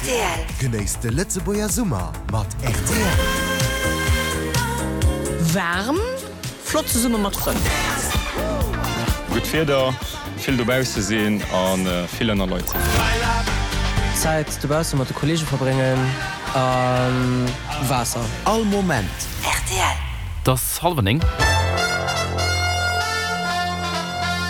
Rtl. Genéisst de Lëtzebuerger Summer mat rtl. Waarm, flott zesumme mat Frënn. Gutt Wieder, vill dobausse sinn a vill ënner Leit sinn. Zäit dobausse mat de Kollege verbréngen a Waasser. All Moment. Rtl. Et ass hallwer 9.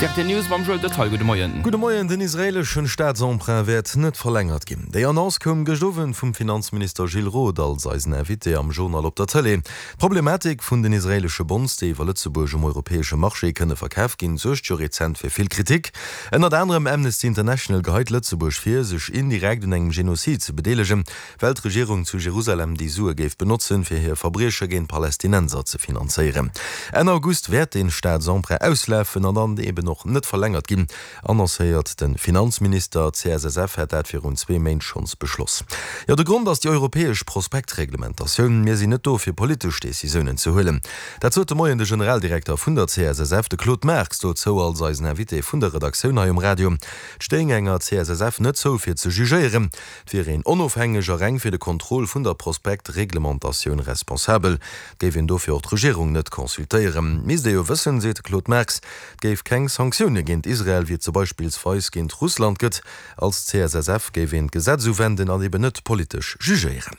D'RTL News mam Joël Detaille. Gudde Moien. Gudde Moien. Den israeeleschen Staatsemprunt wäert net verlängert ginn. Déi Annonce koum gëscht Owend vum Finanzminister Gilles Roth als eisen Invité am Journal op der Tëlee. D'Problematik vun den israeelesche Bonds, déi iwwer Lëtzebuerg um europäesche Marché kënne verkaf ginn, suergt jo rezent fir vill Kritik. Ënnert anerem Amnesty International geheit Lëtzebuerg vir, sech indirekt un engem Genozid ze bedeelegen, well d'Regierung zu Jerusalem déi Sue géif benotzen, fir hir Verbrieche géint Palästinenser ze finanzéieren. Enn August wäert dee Staatsemprunt auslafen an dann eben och net verlängert ginn, annoncéiert de Finanzminister. D'CSSF hätt dat virun zwee Méint schonns beschloss. Jo, de Grond ass déi europäesch Prospektreglementatioun. Mir sinn net do, fir politesch Decisiounen ze huelen. Dat sot de Moien de Generaldirekter vun der CSSF, de Claude Marx, dozou als eisen Invité vun der Redaktioun hei um Radio. Et stéing enger CSSF net zou, fir ze jugéieren. Et wier een onofhängeg a reng fir de Contrôle vun der Prospektreglementatioun responsabel. Et géif een dofir och d'Regierung net consultéieren. Misst ee jo wëssen, seet de Claude Marx, et géif keng Sanktioune géint Israel, wéi et se beispillsweis géint Russland gëtt. Als CSSF géif een d'Gesetz uwenden an eben net politesch jugéieren.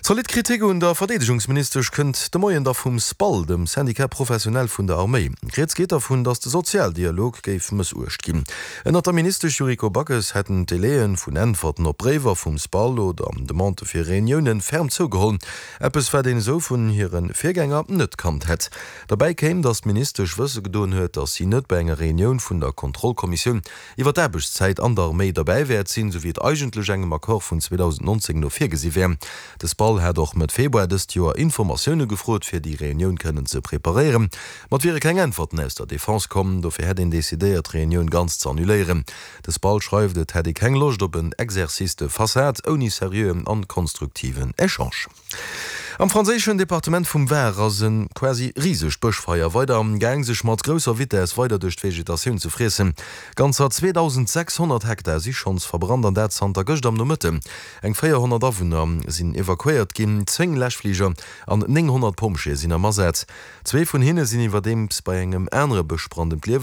Zolidd Kritik un der Verdeedegungsministesch kënnt de Moien da vum SPAL, dem Syndicat professionnel vun der Arméi. Rieds geet dervun, datt de Sozialdialog géif mëssuecht ginn. Ënnert der Ministesch Yuriko Backes hätten d'Délaië vun Äntwerten op Bréiwer vum SPAL oder Demandë fir Reuniounen ferm zougeholl. Eppes wat een esou vun hire Virgänger net kannt hätt. Derbäi kéim, datt d'Ministesch wësse gedoen huet, datt si net bei enger Reunioun vun der Kontrollkommissioun iwwer d'Aarbechtszäit an der Arméi derbäi wäert sinn, sou wéi et eigentlech engem Accord vun 2019 no virgesi wär. De SPAL hat och Mëtt Februar dëst Joer Informatioune gefrot, fir déi Reunioun kënnen ze preparéieren. Ma et wiere keng Äntwerten aus der Defense komm, dofir hätt een decidéiert, d'Reunioun ganz ze annuléieren. De SPAL schreift, et hätt ee keng Loscht op en Exercice de façade ouni seriöen an konstruktiven Echange. Am franséischen Departement vum Var ass e quasi risegt Bëschfeier weider am Gaang sech mat grousser Vitess weider duerch d'Vegetatioun ze friessen. Ganzer 2.600 Hektar si schonns verbrannt an dat zanter gëscht am Nomëtten. Eng 400 Awunner sinn evakuéiert ginn, 10 Läschfliger an 900 Pompjeeë sinn am Asaz. Zwee vun hinne sinn iwwerdeems bei engem anere Bëschbrand ëm d'Liewe.